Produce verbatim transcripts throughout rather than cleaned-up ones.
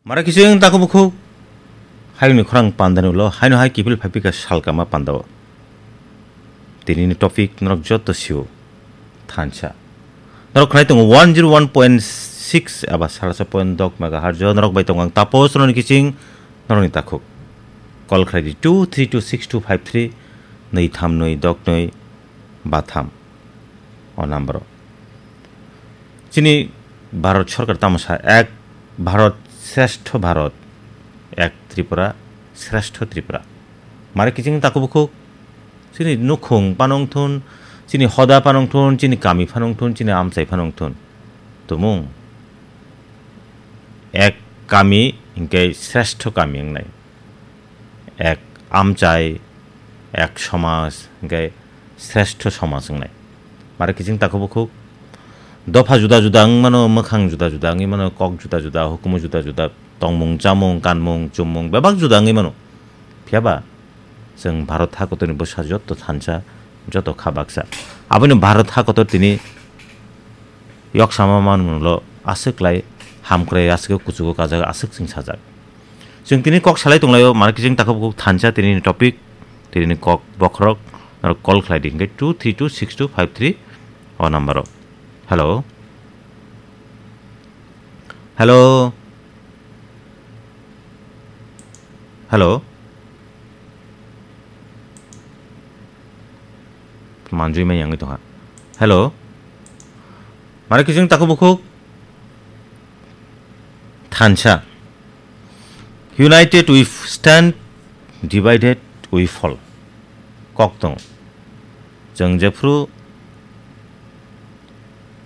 Mara kiching taku bukhuk, hayungni khorang pandani ulo, haino hai kiphil phaipika salkama pandao. Tinini topic norok jotto sio thansa. Norok khnai tongo one zero one point six aba salasa point dok megahertz o, norok bai tongo ang Tapos Roni kiching, norokni takhuk. Call khlai di two three two six two five three, nwi tham nwi dok nwi ba tham. O number o. Chini Bharat Sarkar tamo sa, ek Bharat Shrestho Bharat, ek Tripura Shrestho Tripura. Mare kiching taku bukhuk, chini nukhung phano wngthun, chini hoda phano wngthun, chini kami phano wngthun, chini amchai phano wngthun. Tumung ek kami hinkhe Shrestho kami wngnai. Ek amchai, ek somaj, hinkhe Shrestho somaj wngnai. Mare kiching taku bukhuk. Dopha juda juda wng mano, mwkhang juda juda wngwi mano, kok juda juda, hukumu juda juda, tongmung, chamung, kanmung, chummung bebak juda wngwi mano. Phiya ba chwng Bharat hakotorni bwsa joto thansa, joto kha baksa. Aboni Bharat hakotor tini yoksama manmunglo aswk lai hamkrai, aswk kuchugo kajak, aswk chwng sajak. Chwng tini kok salai tonglaio, mare kiching taku bukhuk thansa tinini topic, tinini kok bokhorok, norok call khlai di hinkhe two three two six two five three o number o. Hello? Hello? Hello? Manjui mai yangwi tongha. Hello? Mare kiching taku bukhuk? Thansa. United we stand, divided we fall. Kok tong. Chwng jephru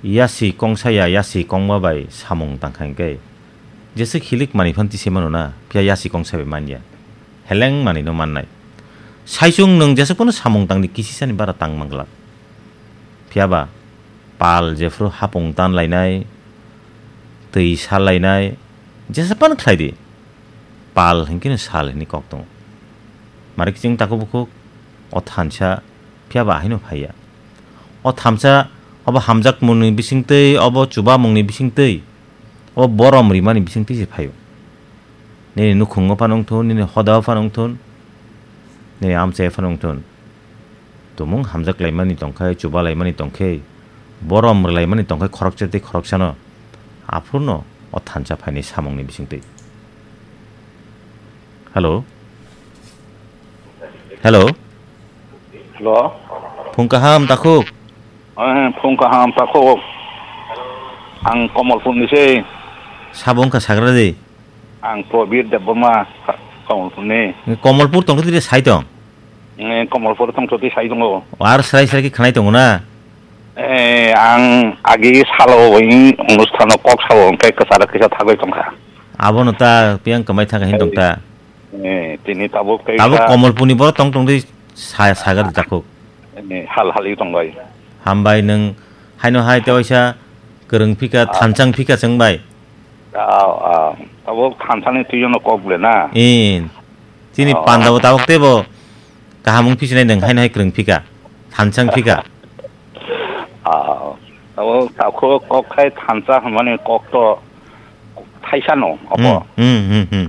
yasi kongsa ya, yasi kongma bai samung tangkha hinkhe, jesa khilik manwi phan tise mano na, phiya yasi kongsa bai manya. Heleng manwi no mannai. Saichung nwng jesa phano samung tangdi kisisani bara tang manglak. Phiya ba pal jephru hapung tan lainai, twi sal lainai, jesa phano khlai di. Pal hinkhe no sal hinwi kok tongo. Mare kiching taku bukhuk, o thansa, phiya ba haino phaiya. O thansa, obo hamjakmungni bisingtwi, obo chubamungni bisingtwi, obo borom rimani bisingtwi se phaio. Nini nukhungo phano wngthun, nini hodao phano wngthun, nini amchaio phano wngthun. Tumung hamjak laimani tongkhe, chuba laimani tongkhe, borom rwlaimani tongkhe khoroksa tei khoroksano, aphurno o thansa phaini samungni bisingtwi. Hello? Hello? Hello? Phung kaham, takhuk? Eh, phung kaham, takhuk. Ang Komolpurni se. Sabo wngkha sagra di? Ang Probir Debbarma, Komolpurni. Komolpur tongkhe twi sai tong? Eh, Komolpur tongkhe twi sai tongo. Ar srai srai khe khnai tongo na? Eh, ang agi salo oi onusthano kok sao, hwnkhe kwcharo kisa thagwi tongkha. Abono ta piyang kwmai thangkha hin tongta. Eh, tini tabuk kaisa. Tabuk Komolpurni borok tong tongdi sa-, sagar jakhuk. Eh, hal hal i tongbai. Hambai nwng haino hai tewaisa kwrwng phika, ah, thanchang phika chwng bai. Ah, ah. Tabuk thanchani twijono kok ble na? Eh, chini, oh, pandabo tabuk teibo kaham wng phisinai nwng haino hai kwrwng phika, thanchang phika. Ah, tabuk takhuk kok khai thansa hwnmani kok to thaisa no, obo. Hmm, hmm, hmm, hmm.